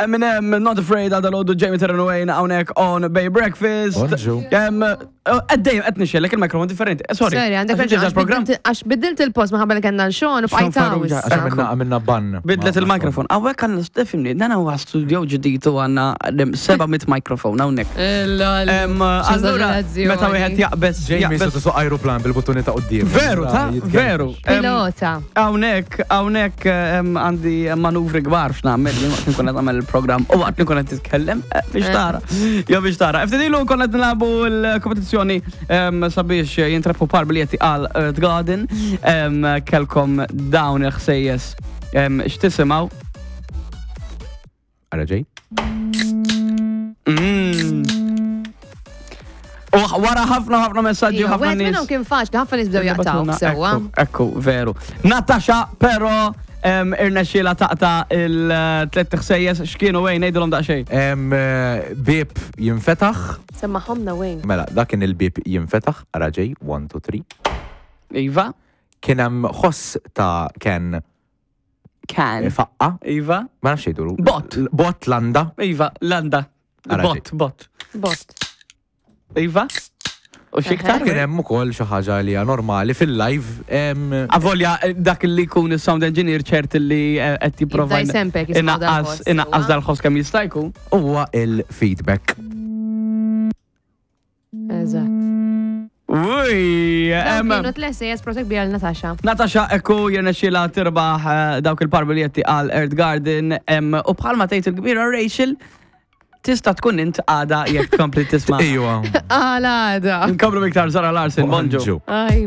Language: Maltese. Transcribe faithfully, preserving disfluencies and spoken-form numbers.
Eminem, Not Afraid, għada l Jamie Terran Wayne, hawnhekk on Bay Breakfast. Bonġu. Għaddejjem, qed nixxellek il-mikrofon differenti. Eh, Sorry. Sorry, għandek Għax raġun, ġeġa program. għax bidilt il-post maħabba li kellna l-xon u Sean bqajt hawn Farrugia. issa. Għax għamilna għamilna ban. Bidlet il-mikrofon. Hawnhekk għandna stifimni, dan huwa studio ġdid u għandna seba' mitt mikrofon hawnhekk. Lol. Em, Allura, meta wieħed jaqbeż. Jamie jaqbeż- se tusuq aeroplan bil-buttuni ta' quddiem. Veru, ta' veru. Em, Pilota. Hawnhekk, hawnhekk em, għandi manuvri kbar x'nagħmel jien waqt li nkun qed nagħmel il-programm u waqt li nkun qed titkellem eh, biex tara. Jo biex tara. Ftit ilu konna qed nilagħbu l-kompetizzjoni em, sabiex jintrebħu par biljetti għal Earth Garden. Em, Kellkom dawn il-ħsejjes em, x'tisimgħu. Ara ġej. Mm. U wara ħafna ħafna messaġġi u Iva, ħafna Wieħed minnhom nies. kien faċli, ħafna nies bdew jaqtaw sewwa. Ekku, ekku, veru. Natasha, però em, irnexxiela taqta il-tlet ħsejjes x'kienu wejn ngħidulhom daqsxejn. Em, eh, Bib jinfetaħ. Semmaħomna wejn. Mela, dak kien il-bib jinfetaħ. Ara ġej. one, two, three. Iva, Kien hemm ħoss ta' Ken kan. faqqa. Iva, Ma nafx jgħidulu. Bot. Bot landa. Iva, landa. Ara Bot, bot. Bot. Iva. U xiktar? Kien hemm ukoll xi ħaġa li hija normali fil-live. em, Avolja, eh, dak li jkun il-sound engineer ċert li eh, qed jipprova Jibda jsempek jisma' inaqqas dal-ħoss, inaqqas sewwa. dal-ħoss kemm jista' jkun. Huwa il-feedback. Eżatt. Uj, Dawn em, Kienu tles protek bija l-Natasha. Natasha ekku jirnexxila tirbaħ eh, dawk il-par biljetti għal Earth Garden em, u bħalma tgħid il-kbira Rachel tista' tkun int għada jekk tkompli tisma'. Ejwa. Għala għada. Nkomplu iktar Zara Larson, bonġu. Bonġu. Aj,